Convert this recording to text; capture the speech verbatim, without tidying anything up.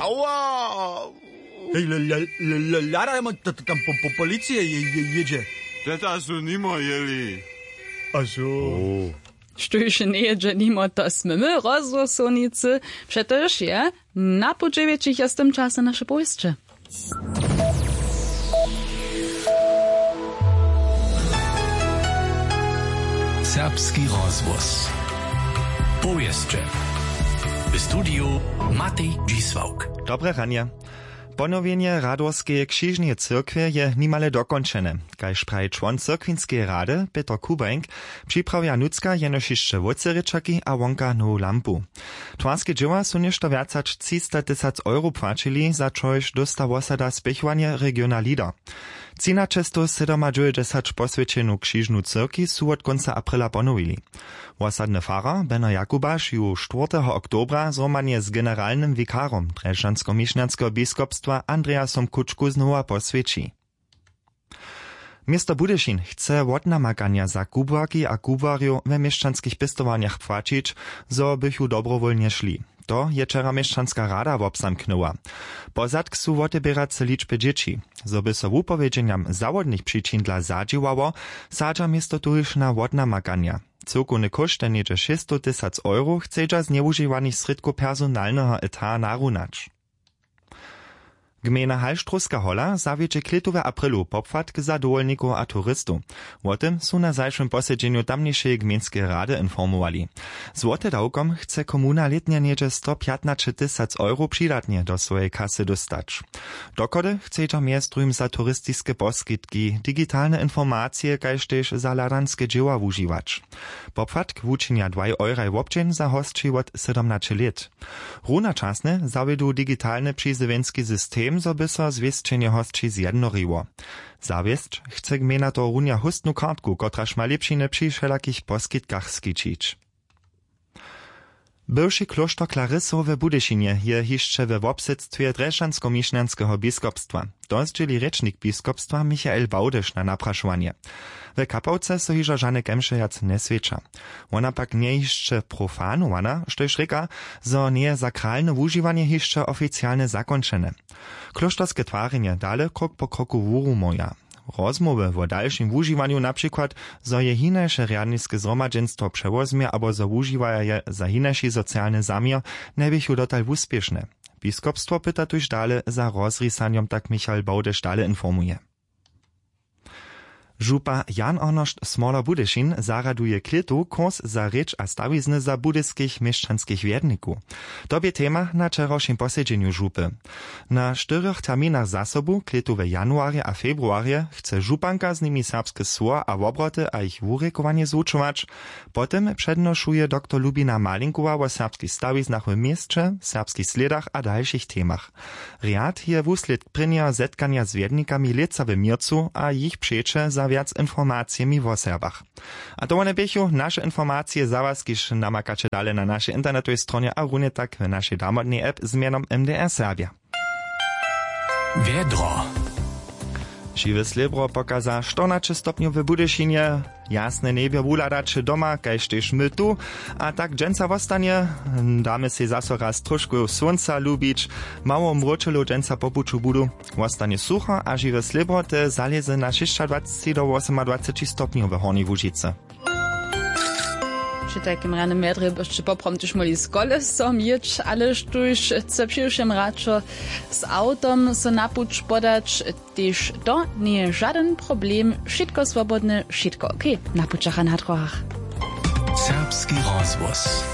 Aua. Hej, hladajmy, tam po policije jědźe. Teta su nimo jěli. A zo. Štóž njejědźe nimo, to smy my rozhłosownicy. Přetož je na pół dźewjećich je z tym čase naše powěsće. Serbski rozhłos. Powěsće. W studiju Matej Dźisławk. Dobre ranje. Ponowjenje Radworskeje křižneje cyrkwje je nimale dokónčene. Kaž praji čłon cyrkwinskeje rady Pětr Kubańk, připrawja nutřka jenož hišće wótřerěčaki a wonka nowu lampu. Twarske dźěła su něšto wjac hač třista tysac euro płaćili, za čož dósta wosada spěchowanje regiona Leader. Třinaćestowsydomadźewjećdźesat poswjećenu křižnu cyrkej su wot kónca aprila ponowili. Wosadny farar Beno Jakubaš ju štwórteho oktobra zhromadnje z generalnym wikarom drježdźanskomišnjanskeho biskopstwa Andreasom Kučku znowa poswjeći. Město Budyšin chce wotnamakanja za kubłarki a kubłarjow we měšćanskich pěstowarnjach płaćić, zo bychu dobrowólnje šli. To je wčera měšćanska rada wobzamknyła. Pozadk su woteběrace ličby dźěći. Zo by so wupowědźenjam zawodnych přičin dla zadźěłało, sadźa město tuž na wotnamakanja. Cyłkowny kóšt je něhdźe šěsćstow tysac euro, chcedźa z njewužiwanych srědkow personalneho etara narunać. Gmejna Halštrowska hola zawjedźe klětowy w aprilu popłatk za dowolnikow a turistow. Wo tym su na zašłym posedźenju tamnišeje gmejnskeje rady informowali. Z wotedawkom chce komuna lětnje něhdźe stopjatnaćetysac euro přidatnje do swojeje kasy dóstać. Dochody chcedźa mjez druhim za turistiske poskitki, digitalne informacije kaž tež za hladanske dźěła wužiwać. Popłatk wučinja dwaj euraj wobdźeń za hosći wot sydomnaće lět. Runačasnje zawjedu digitalny přizjewjenski system, zo by so zwěsćenje hosći zjednoriło. Zawěsć chce gmejna tohorunja hóstnu kartku, kotraž ma lěpšiny při wšelakich poskitkach skićić. Bywši klóšter Klarysow w Budyšinje je hišće we wobsydstwje drježdźanskomišnjanskeho biskopstwa. To zdźěli rěčnik biskopstwa Michael Bałdyš na naprašowanje. W kapałce so hižo žane kemše wjac njeswjeća. Wona pak njeje hišće profanowana, štož rěka, zo njeje sakralne wužiwanje hišće oficialnje zakónčene. Klóšterske twarjenje dale krok po kroku wurumoja. Rozmołwy wo dalšim wužiwanju, na přikład zo je hinaše rjadniske zhromadźenstwo přewozmje abo zo wužiwaja je za hinaši socialny zaměr, njeběchu dotal wuspěšne. Biskopstwo pyta tuž dale za rozrisanjom, tak Michal Bałdyš dale informuje. Župa Jan Arnošt Smoler Budyšin zarjaduje klětu kurs za rěč a stawizny za budyskich měšćanskich wjednikow. To bě tema na wčerawšim posedźenju župy. Na štyrjoch terminach zasobu, klětu w januarje a februarje, chce županka z nimi serbske słowa a wobroty a jich wurěkowanje zwučować. Potom přednošuje doktor Lubina Malinkowa wo serbskich stawiznach w měsće, serbskich slědach a dalšich temach. Rjad je wuslědk prěnjeho zetkanja z wjednikami lětsa w měrcu a jich přeće za wjac informacijemi wo Serbach. A to wone běchu naše informacije za was, kiž namakaće dale na našej internetowej stronje a runje tak w našej damodnej app z mjenom M D R Serbja. Wjedro. Žiwe slěbro pokaza štyrnaće stopnjow w Budyšinje. Jasne njebjo wuhladaće doma kaž tež my tu. A tak dźensa wostanje. Damy sej zaso raz trošku słónca lubić. Mało mróčelow dźensa po puću budu. Wostanje sucho a žiwe slěbro te zalěze na šěsćadwaceći do wosomadwaceći stopnjow w Hornjej Łužicy. Při tajkim rjanym wjedrje byšće poprawom tež móhli z kolesom jěć, ale štóž chce přiwšěm radšo z awtom so na puć podać, tež to njeje žadyn problem. Wšitko swobodne, wšitko ok na pućach a na dróhach. Serbski rozhłos.